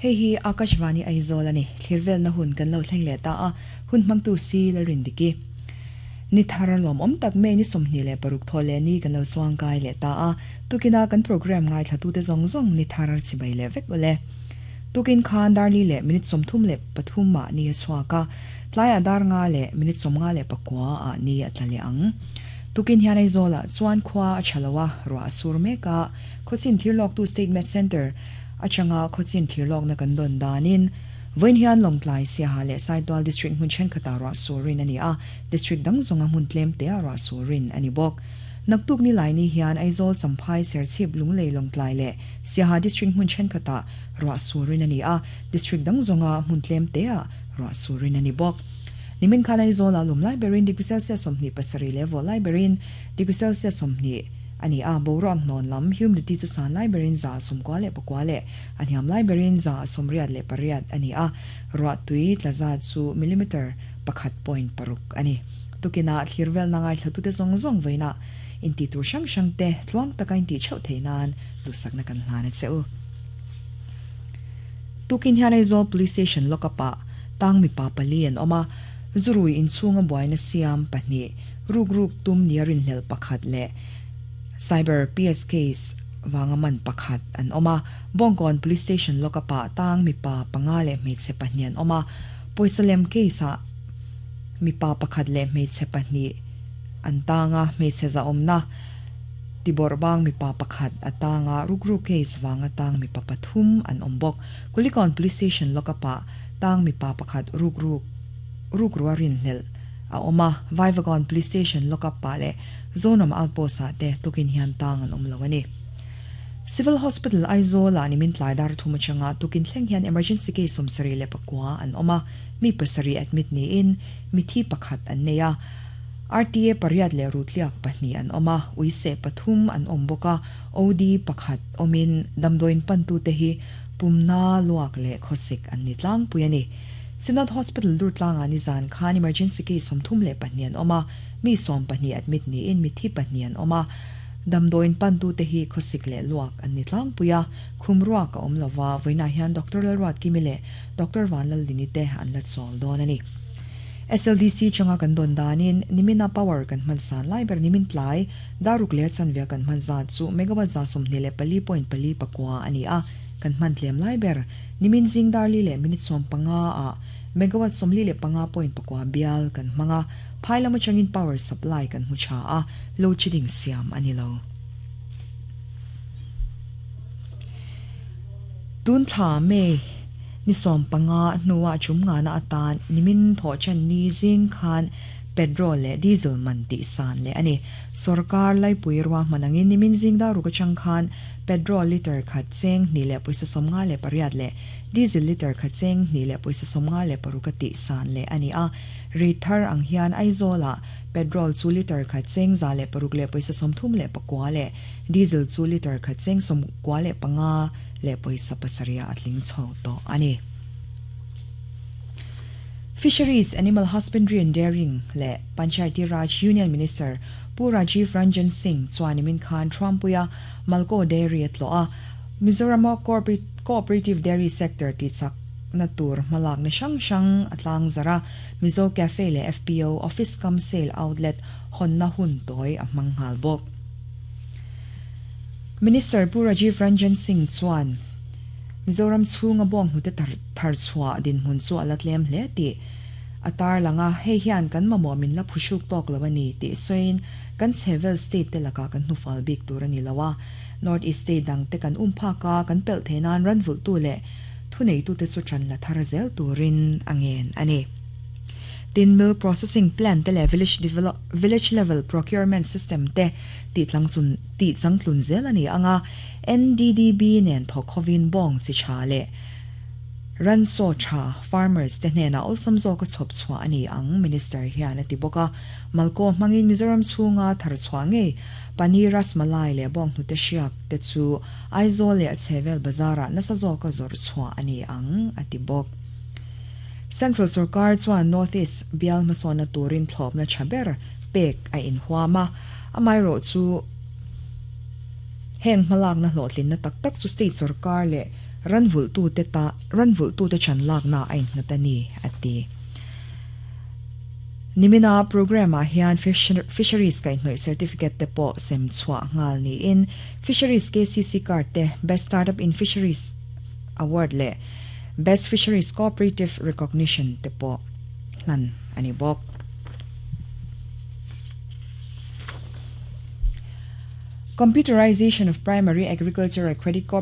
Hei hi Akashvani Aizawl a ni. Thlir velna hun kan lo thleng leh ta a, hun hmangtu si Lalrindiki. Ni thar lawmawm tak May ni 26 thaw leh ni kan lo chuang kai leh ta a, tukina kan programme ngaithlatute zawng zawng ni thar chibai leh vek ule. Tukin khan dar li leh minute 33 ah ni a chhuak a, tlaiah dar nga leh minute 59 ah ni a tla leh ang. Tukin hian Aizawlah chuan khua a tha lo a, ruah a sur mek a, khawchin thirlawktu State Met Centre atanga khawchin thirlawkna kan dawn danin vawiin hian Lawngtlai, Siaha leh Saitual District hmun thenkhatah ruah sur rin a ni a, District dang zawnga hmun tlem teah ruah sur rin a ni bawk. Naktuk Nilaini hian Aizawl, Champhai, Serchhip, Lunglei, Lawngtlai leh Siaha District hmun thenkhatah ruah sur rin a ni a, District dang zawnga hmun tlem teah ruah sur rin a ni bawk. Nimin khan Aizawlah lum lai berin degree Celsius 27 leh vawh lai berin degree Celsius 20 a ni a, boruak hnawn lam humidity chu san lai berin 99 leh a hniam lai berin 88 a ni a, ruah tui tla zat chu millimeter 1.6 a ni. Tukinah thlir velna ngaithlatute zawng zawng vawiinah intih tur hrang hrang te tluang taka intih theuh theih nan duhsakna kan hlan a che u. Tukin hian Aizawl Police Station lockup ah tang mipa pali an awm a, zurui inchhunga buaina siam pahnih, ruk ruk tum nia rinhlelh pakhat leh Cyber PS case vanga man pakhat an awm a. Bawngkawn Police Station lockup ah tang mipa panga leh hmeichhe pahnih an awm a, pawisa lem case ah mipa pakhat leh hmeichhe pahnih an tang a, hmeichhe zahawmna tibawrh bang mipa pakhat a tang a, rukru case vanga tang mipa pathum an awm bawk. Kulikawn Police Station lockup ah tang mipa pakhat rukru rukrua rinhlelh a awm a, Vaivakawn Police Station lockup ah leh Zonam Outpost ah te tukin hian tang an awm lo a ni. Civil Hospital Aizawl ah nimin tlai dar thum atanga tukin thleng hian emergency case 79 an awm a, mi pasarih admit niin mithi pakhat an nei a. RTA pariat leh rutliak pahnih an awm a, uiseh pathum an awm bawk a, OD pakhat awmin damdawiin pantute hi pumna luak leh khawsik an ni tlangpui a ni. Synod Hospital Durtlangah nizan khan emergency case 32 an awm a, mi 12 admit niin mitthi pahnih an awm a, damdawiin pantute hi khawsik leh luak an ni tlangpui a, khum ruak a awm lova, vawiinah hian Doctor Lalruatkimi leh Doctor Vanlaldini te an la chawl dawn a ni. SLDC changa kan dawn danin nimina power kan hman san lai ber nimin tlai daruk leh chanve kan hman zat chu megawatt 24.49 a ni a, kan hman tlem lai ber nimin zing dar li leh minute 15 ah megawatt 45.9 bial kan hmang a, phai lam atangin power supply kan hmu tha a, load shedding siam a ni lo. Tun thla May ni 15 hnuah chum ngana atan nimin thawh chen ni zing khan petrol leh diesel man tih san leh a ni. Sorkar laipui ruahman angin nimin zing dar ruk atang khan petrol liter khat cheng hnih leh pawisa 58 leh diesel liter khat cheng hnih leh pawisa 56 a tih san leh a ni a. Rate thar ang hian Aizawlah petrol chu liter khat cheng 106 leh pawisa 39 leh diesel chu liter khat cheng 95 leh pawisa pasarih a tling chho tawh a ni. Fisheries, Animal Husbandry and Dairying leh Panchayati Raj Union Minister Pu Rajiv Ranjan Singh chuan nimin khan Thuampuia Malco Dairy a tlawh a, Mizorama Cooperative Dairy Sector tihchak na tur hmalakna hrang hrang a tlang zar a, Mizo Cafe leh FPO Office cum Sale Outlet hawnna hun tawi a hmang nghal bawk. Minister Pu Rajiv Ranjan Singh chuan Mizoram chhunga bawng hnute thar chhuah dinhmun chu a la tlem hle tih a tarlang a, hei hian kan mamawh min la phuhruk tawk lo a ni tih sawiin kan chhevel state te lakah kan hnufal bik tur a ni lo a, North East state dang te kan um phak a, kan pelh theih nan ran vulhtu leh thuneitute chu ṭan la thar zel turin a ngen a ni. Tin, milk processing plant te leh village develop village level procurement system te tih tlang chun tih changtlun zel a ni ang a, NDDB nen thawk hovin bawng chi tha leh ransaw tha farmers te hnenah awlsam zawka chhawp chhuah a ni ang, Minister hian a ti bawk a. Malkaw hmangin Mizoram chhunga thar chhuah ngei Paneer Rasmalai leh bawng hnute hriak te chu Aizawl leh a chhevel bazarah nasa zawka zawrh chhuah a ni ang, a ti bawk. Central sorkar chuan North East bial hmasawnna turin thlawpna tha ber pek a inhuam a, amaherawh chu heng hmalakna hlawhtlinna tak tak chu state sorkar leh Ranvulhtute ta ranvulhtute chan lakna a innghat a ni, a ti. Nimina programme-ah hian Fisheries kaihhnawih certificate te pawh sem chhuah nghal niin Fisheries KCC card te Best Startup in Fisheries Award leh Best Fisheries Cooperative Recognition te pawh hlan a ni bawk. Computerization of Primary Agricultural Credit Cooperative.